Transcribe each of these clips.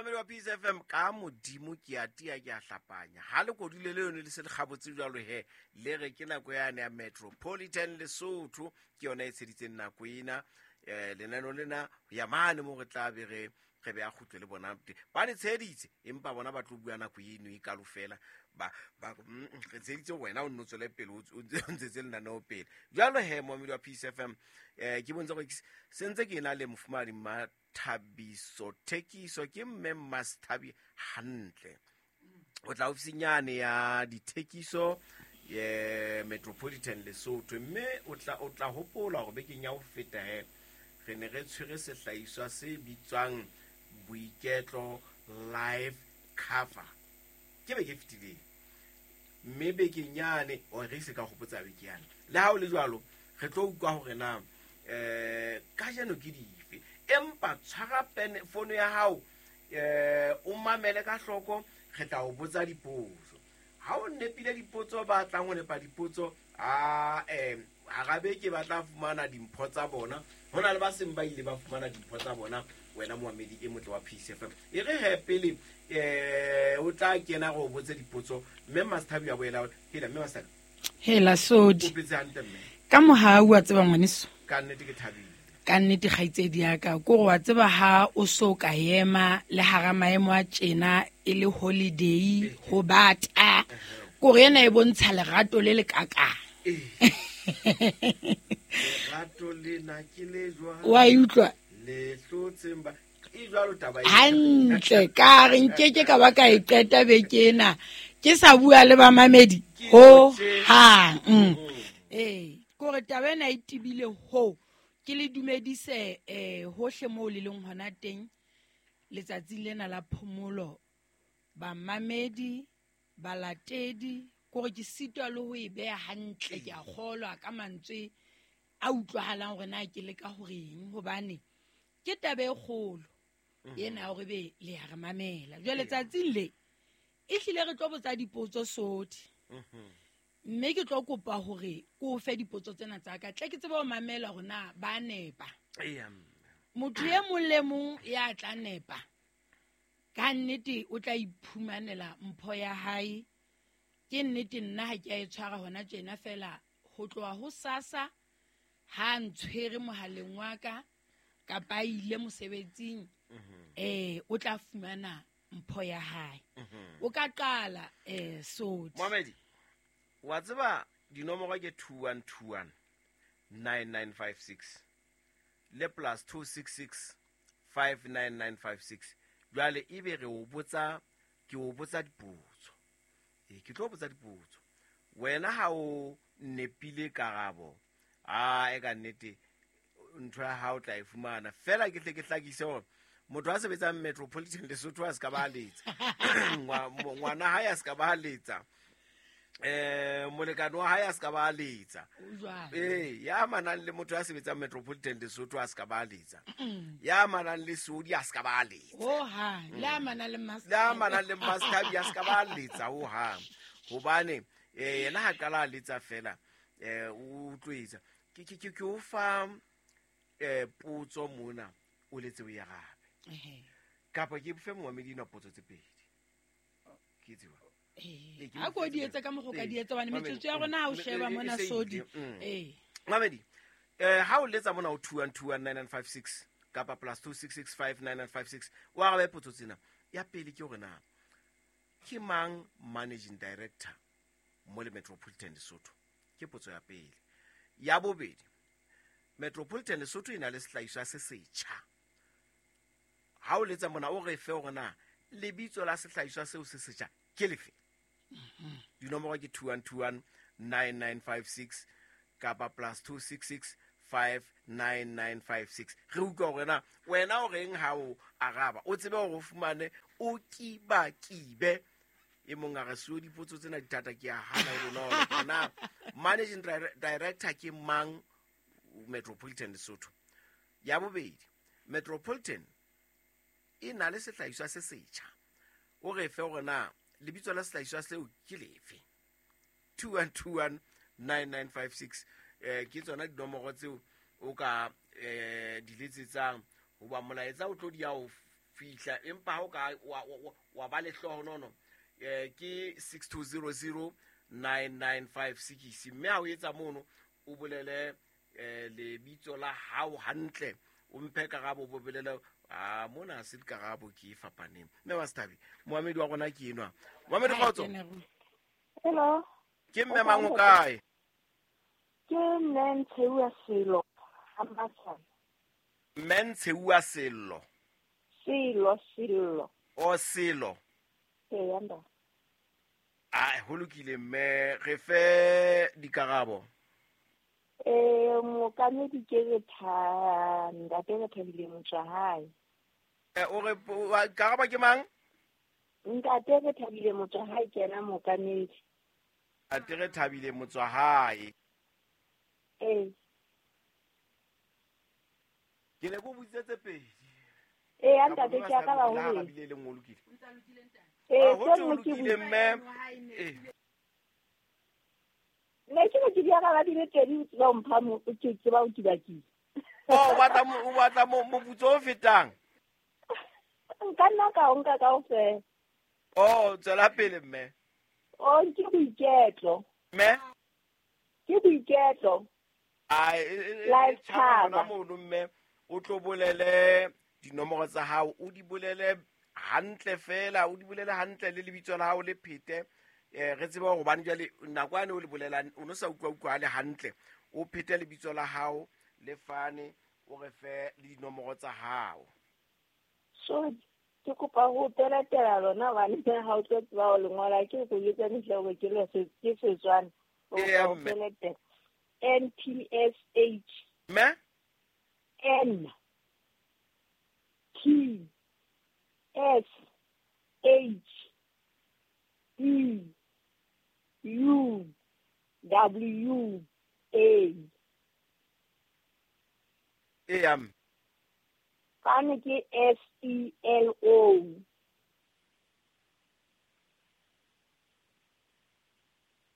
Momamedi wa Peace FM, ka Modimo ke a tia, ke a hlapanya. Ha le kodule le yone le se le kgabotse jwalo he, le re ke nako yane ya Metropolitan Lesotho, ke yona e tsheditseng nako ena. Lenaneo lena ya mane mo re tla be re be a kgutle le bona ba le tsheditse, empa bona ba tlo bua nako eno e kalo fela. Ba re tsheditse wena o nno tswele pele, o ntsetse lenaneo pele. Jwalo he, momamedi wa Peace FM, ke bontsha gore sentse ke na le mofumahadi Thabiso Thekiso, ke mme Masthabi hantle. O tla ofising yane ya dithekiso ye Metropolitan Lesotho, mme o tla hopola hore bekeng ya ho feta he re ne re tshwere sehlahiswa se bitswang Boiketlo Life Cover. Ke beke e fetileng, mme bekeng yane o re se ka hopotsa beke yane. Le ha o le jwalo, re tlo utlwa hore na kajeno ke dife, empa tshwara pene fono ya hao, o mamele ka hloko, re tla o botsa dipotso. Ha o nepile dipotso, ba tlang ho nepa dipotso, hara beke ba tla fumana dimpho tsa bona. Ho na le ba seng ba ile ba fumana dimpho tsa bona, wena momamedi e motle wa Peace FM. E re he pele o tla kena go botse dipotso, mme Masthabi a boela hela, mme Masthabi. Hela Sodi. Ka mohau wa tseba ngwaneso. Ka nnete ke thabile. Ka nnete kgaitsedi ya ka, ko wa tseba ha o so ka ema le hara maemo a tjena e le holiday ho bata. Ko re ena e bontsha lerato le le kakang. Lerato lena ke le jwang? Wa e utlwa? Le hlotseng ba e jwalo taba e. Hantle, ka re nkeke ka ba ka e qeta beke ena. Ke sa bua le bamamedi ho hang. Ko re taba ena e tebile ho. Ke le dumedise hohle moo le leng hona teng letsatsing lena la phomolo, bamamedi, balatedi, kore ke sitwa le ho e beha hantle, ke a kgolwa ka mantswe a utlwahalang hore na ke leka horeng, hobane ke taba e kgolo ena hore be le ya re mamela. Jwale tsatsing le e hlile re tlo botsa dipotso Sodi, mme ke tlo kopa hore ko fe dipotso tsena tsa ka, tle ke tsebe ho mamela hore na ba nepa. Motho e mong le mong ya tla nepa ka nnete o tla iphumanela mpho ya hae. Ke nnete nna ha ke a e tshwara hona tjena fela, ho tloha ho sasa ha ntshwere mohaleng wa ka kapa a ile mosebetsing, o tla fumana mpho ya hae. O ka qala Sodi. Mohamedi, wa tseba dinomoro ke 2121 9956 le plus 266 59956. Jwale ebe re o botsa, ke o botsa dipotso. Ke tlo botsa dipotso. Wena ha o nepile karabo, a e ka nnete ntho ya hao tla e fumana. Fela ke tle ke hlakise hore motho a sebetsang Metropolitan Lesotho a se ka ba letsa. Ngwana hae a se ka ba letsa. Molekane wa hae a se ka ba letsa. Ya manang le motho a sebetsang Metropolitan Lesotho a se ka ba letsa. Ya manang le Sodi a se ka ba letsa. Ho hang, le amanang le Master. Le amanang le Master a se ka ba letsa ho hang. Hobane yena ha qala a letsa fela, o tlo etsa. Ke o fa potso mona o letse o e arabe. Kapa ke fe momamedi ena potso tse pedi. Ke tseba. Ha ko di etsa ka mokgwa ka di etsa, hobane metsotso ya rona ha o sheba mona Sodi. Mamedi, ha o letsa mona o 2121 9956 kapa plus 2665 9956, o arabe potso tsena. Ya pele ke hore na ke mang managing director mo le Metropolitan Lesotho? Ke potso ya pele. Ya bobedi, Metropolitan Lesotho e na le sehlahiswa se setjha. Ha o letsa mona o re fe hore na lebitso la sehlahiswa seo se setjha ke lefe. Dinomoro ke 2121 9956 kapa plus 266 59956. Re utlwa hore na wena o reng ha o araba, o tsebe hore o fumane o kiba kibe. E mong a re seo dipotso tsena di thata, ke a hana ho bonolo. Na managing director ke mang Metropolitan Lesotho? Ya bobedi, Metropolitan e na le sehlahiswa se setjha. O re fe hore na lebitso la sehlahiswa seo ke lefe. 2121 9956, ke tsona dinomoro tseo o ka di letsetsang, hoba molaetsa o tlo di ya o fihla, empa ha o ka wa ba lehlohonono ke 6200 9956, mme ha o etsa mono o bolele lebitso la hao hantle, o mphe karabo, bo bolele a mona se dikarabo ke e fapaneng. Mme wa Sethabi, moamedi wa rona ke enwa. Moamedi, kgotso. Hello. Ke mme mang o kae? Ke mme Ntsheuwa Selo, Ambatshana. Mme Ntsheuwa Selo. Selo, Selo. O Selo. Ee, nda. A ho lokile mme, re fe dikarabo. Mookamedi ke re ntate re Thabile Motswahae. O re karabo ke mang? Ntate re Thabile Motswahae ke yena mookamedi. Ntate re Thabile Motswahae. Ee. Ke ne ko botsitse pedi. Ee, ntate ke a ka ba ho arabile le nngwe, lokile. Ee, ho se nngwe ke lokile mme. Ne ke re ke di araba di le pedi, o tseba ho mpha ke tseba ho kibakile. O batla moputso o fetang? Nka nna ka o nka kaofela. Oh, tswela pele mme. Oh, ke boiketlo. Mme? Ke boiketlo. Ai, Life tshwara cover. hona mono mme, o tlo bolele dinomoro tsa hao, o di bolele hantle fela, o di bolele hantle le lebitso la hao le phete. Re tsebe hore hobane jwale nako yane o le bolelang o no sa utlwa le hantle, o phete lebitso la hao le fane, o re fe le dinomoro tsa hao. So ke kopa ho pelatela lona hobane ha o tlo tseba ho le ngola, ke go etsa ntle hore ke le ke Setswana. O Eya, kopa ho mme. pelatela. N T S H. Mme? N T S H E U W A. Eya, mme. Fane ke S E L O.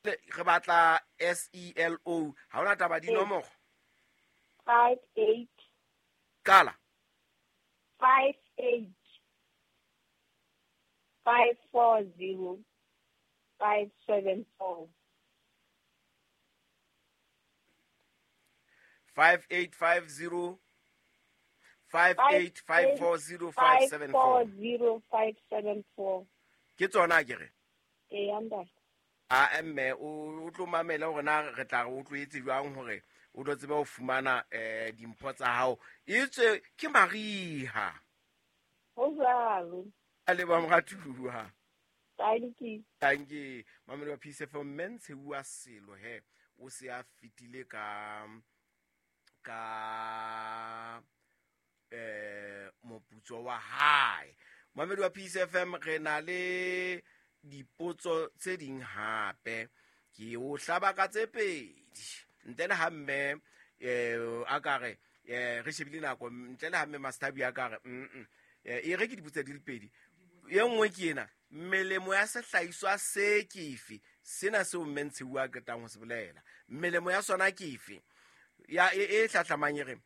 Re batla S E L O. Ha hona taba dinomoro. 5 8. Qala. 5 8 5 4 0 5 7 4. 5 8 5 0 5 8 5 4 0 5 7 4. 0 5 7 4. Ke tsona ke re. Ee, ntate. A mme o tlo mamela hore na re tla re o tloetse jwang hore o tlo tsebe ho fumana dimpho tsa hao. Etswe ke mariha. Ho jwalo. A leboha moratuwa. Thank you. Thank you. Mamelo wa Peace FM, mme Ntsheuwa Selo he o se a fetile ka moputso wa hae. Mamelo wa Peace FM, re na le dipotso tse ding hape. Ke o hlaba ka tse pedi. Ntle le ha mme a ka re re shebile nako, ntle le ha mme Master a ka re e re ke dipotso di le pedi. E nngwe ke ena, melemo ya sehlahiswa se ke efe? Sena seo mme Ntsheuwa a qetang ho se bolela. Melemo ya sona ke efe? Ya e hlahlamang e re,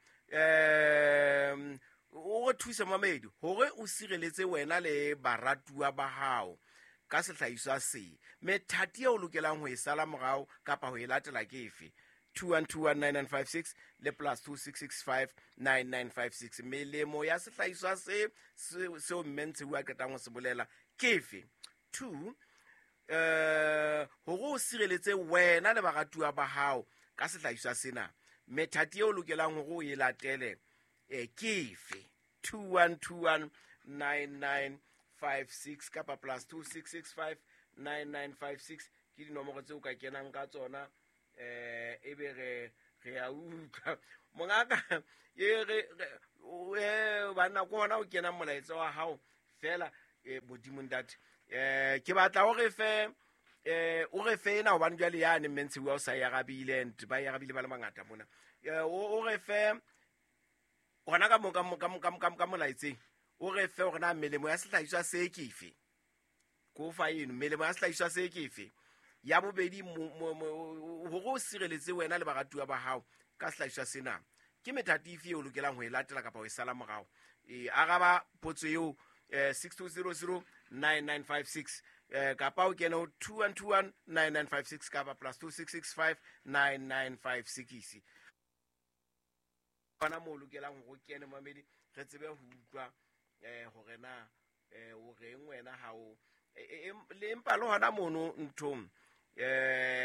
o re thuse mamedi hore o sireletse wena le baratuwa ba hao ka sehlahiswa se. Methati eo o lokelang ho e sala morao kapa ho e latela ke efe? 21219956 le plus 26659956. Melemo ya sehlahiswa se seo mme Ntsheuwa a qetang ho se bolela ke efe? 2 hore o sireletse wena le baratuwa ba hao ka sehlahiswa sena, methati eo o lokelang hore o e latele ke efe? 21219956 kapa plus 26659956 ke dinomoro tseo o ka kenang ka tsona. Ebe re a utlwa mongaka e re banna ke hona o kenang molaetsa wa hao fela. Modimo ntate, ke batla o re fe o re fe ena hobane jwale yane mme Ntsheuwa o sa e arabile, and ba e arabile ba le bangata mona. O re fe hona ka mo ka molaetseng, o re fe hore na melemo ya sehlahiswa se ke efe. Ko fa eno melemo ya sehlahiswa se ke efe? Ya bobedi, hore o sireletse wena le baratuwa ba hao ka sehlahiswa sena, ke methati efe eo o lokelang ho e latela kapa ho e sala morao? Araba potso eo 6200 9956 kapa o kene ho 2121 9956 kapa +2665 9956. Bana mo lokelang ho kene mamedi re tsebe ho utlwa hore na o reng wena ha o le empa le hona mono nthong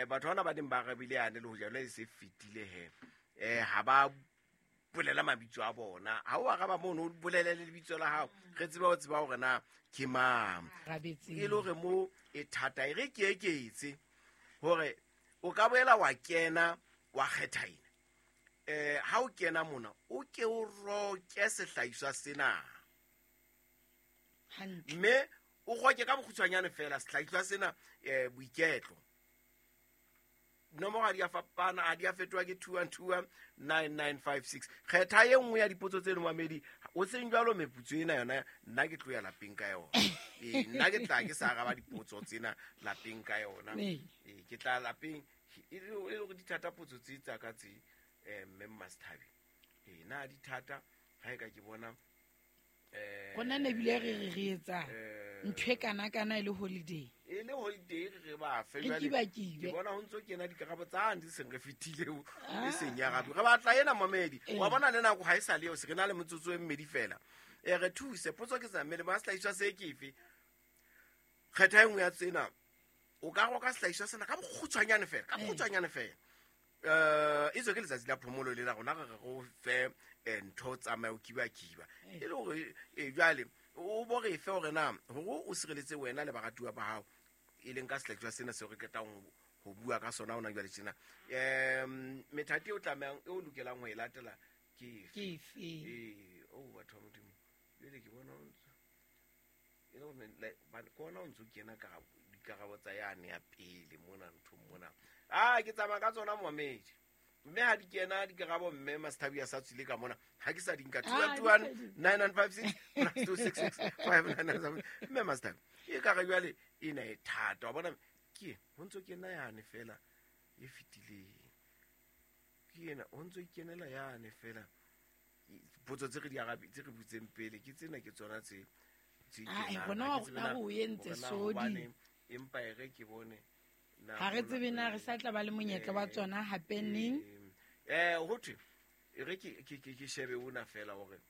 batho bana ba ding ba rabile yane le ho jalo e se fetile he ha ba bolela mabitso a bona ha o araba mono o bolele le lebitso la hao re tsebe ho tseba hore na ke mang e le hore mo e thata e re ke eketse hore o ka boela wa kena wa kgetha ena ha o kena mona o ke o roke sehlahiswa sena mme o roke ka bokgutshwanyane fela sehlahiswa sena boiketlo nomoro ha di a fapana ha di a fetoha ke 2121 9956. Kgetha e nngwe ya dipotso tse mamedi o seng jwalo meputso ena yona nna ke tlo ya lapeng ka yona. Nna ke tla ke sa araba dipotso tsena lapeng ka yona. Ke tla lapeng e le hore di thata potso tse tsa ka tse mme Masthabi. Na di thata ha e ka ke bona gona ne bile re re etsa ntho e kana kana e le holiday. E le holiday re ba fe jwale ke bona ho ntso kena dikarabo tsa di seng re fetile e seng ya rabi re batla ena mamedi wa bona le nako ha e sa le eo se re na le motsotso e mmedi fela re thuse potso ke tsa mmele ba sehlahiswa se kefe kgetha e nngwe ya tsena o ka roka sehlahiswa sena ka bokgutshwanyane fela ka bokgutshwanyane fela e tswe ke letsatsi la phomolo le la rona re go fe ntho tsamaya o kiba-kiba e le hore jwale o bo re fe hore na hore o sireletse wena le baratuwa ba hao e leng ka sehlahiswa sena seo re qetang ho bua ka sona hona jwale tjena methati o tlamehang e o lokelang ho e latela ke efe o batho ba Modimo jwale ke bona e le hore kona o ntso kena ka dikarabo tsa yane ya pele mona nthong mona ke tsamaya ka tsona momedi mme ha di kena dikarabo mme Masthabi a sa tswile ka mona ha ke sa di nka 221 9956 +266 597 mme Masthabi e ka re jwale ena e thata wa bona ke ho ntso kena yane fela e fetileng ke ena ho ntso kenela yane fela potso tse re di arabe tse re butseng pele ke tsena ke tsona tse gona o entse sodi empa e re ke bone ha re tsebe na re sa tla ba le monyetla wa tsona hape neng ho thwe re ke shebe ona fela hore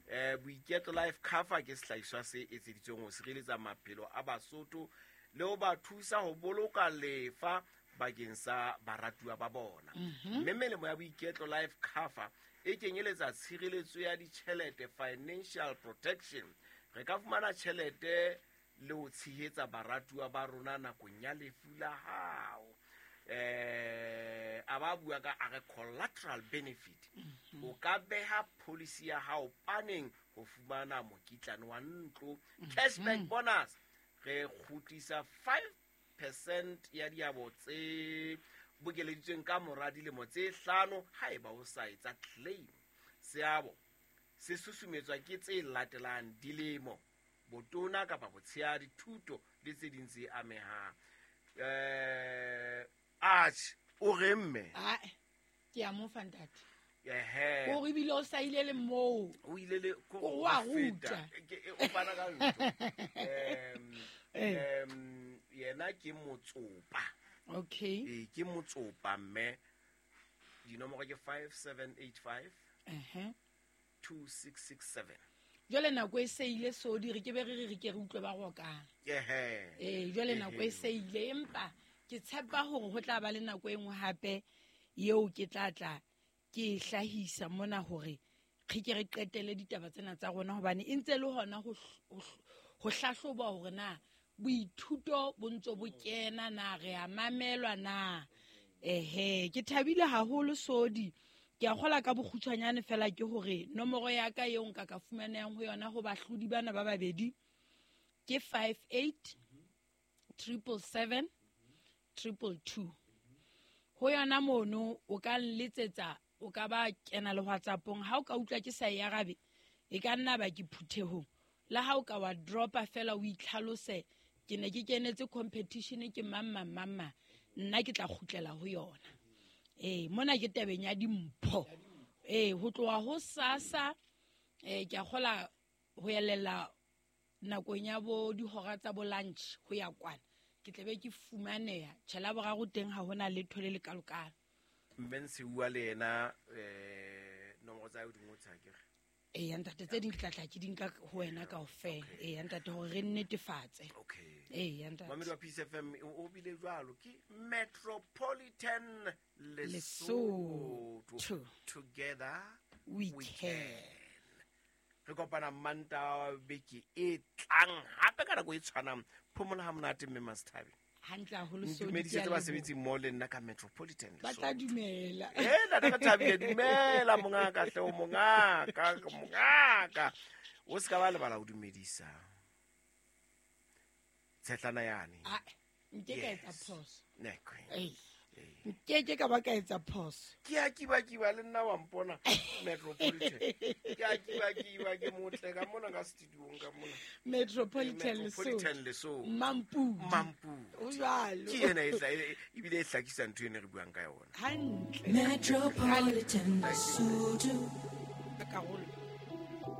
Boiketlo Life Cover ke sehlahiswa se etseditsweng ho sireletsa maphelo a Basotho le ho ba thusa ho boloka lefa bakeng sa baratuwa ba bona. Mme melemo ya Boiketlo Life Cover e kenyeletsa tshireletso ya ditjhelete financial protection. Re ka fumana tjhelete le ho tshehetsa baratuwa ba rona nakong ya lefu la hao. A ba bua ka a re collateral benefit. O ka beha policy ya hao paneng ho fumana mokitlane wa ntlo. Cashback bonus re kgutlisa 5% ya diabo tse bokeleditsweng ka mora dilemo tse 5 haeba o sa etsa claim. Seabo se susumetswa ke tse latelang: dilemo, botona kapa botshehadi, thuto le tse ding tse amehang. Atjhe o re mme ke a mo fa ntate. O re bile o sa ile le moo o ile le o a ruta o fana ka ntho. Yena ke motsopa. Okay. Ke motsopa mme dinomoro ke 5785 2667. Jwale nako e se ile sodi re ke be re ke re utlwe ba rokang. Jwale nako e se ile empa ke tshepa hore ho tla ba le nako e nngwe hape eo ke tla tla ke hlahisa mona hore re ke re qetele ditaba tsena tsa rona hobane e ntse le hona ho hlahloba hore na boithuto bo ntso bo kena na re a mamelwa na. Ke thabile haholo sodi. Ke a kgola ka bokgutshwanyane fela ke hore nomoro ya ka eo nka ka fumanehang ho yona ho bahlodi bana ba babedi ke 58 777 222. Ho yona mono o ka nletsetsa, o ka ba kena le WhatsAppong. Ha o ka utlwa ke sa e arabe e ka nna ba ke phuthehong. La ha o ka wa dropa fela o itlhalose ke ne ke kenetse competition ke mamma mamma nna ke tla kgutlela ho yona. Mona ke tabeng ya dimpho. Ho tloha ho sasa ke a kgola ho elela Nakong ya bo dihora tsa bo lunch ho ya kwana, ke tla be ke fumaneha. Tjhe, Laboraro teng ha hona letho le lekalokalo. Mme Ntshiuwa le yena nomoro tsa hae o di ngotse akere? Eya ntate, tse ding ke tla tla ke di nka ho wena kaofela. Eya ntate, hore re nnetefatse. Okay. Eya ntate. Mamedi wa Peace FM o bile jwalo ke Metropolitan Lesotho. Lesotho. Together we we can. can. Re kopana Manta beke e tlang hape ka nako e tshwanang. Phomola ha monate mme Masthabe. Hantle haholo, so di Ntumedisetse ke a leboha. basebetsi mmoho le nna ka Metropolitan Ba tla Lesotho. dumela. Eh, ntate re thabile, dumela mongaka hle, o mongaka, mongaka. O se ka ba lebala ho dumedisa tshetlana yane. Ah, nke ka etsa Yes. phoso. Ne, queen. Ei. Nke ke ka ba ka etsa phoso. Ke a kibakiba le nna wa mpona Metropolitan. Ke a kibakiba, ke motle ka mona ka studiong ka mona. Metropolitan Metropolitan Lesotho. Lesotho. Mampudi. Mampudi. O jwalo. Ke ena e tla ebile e hlakisa ntho ene re buang ka yona. Hantle. Metropolitan Lesotho. Karolo.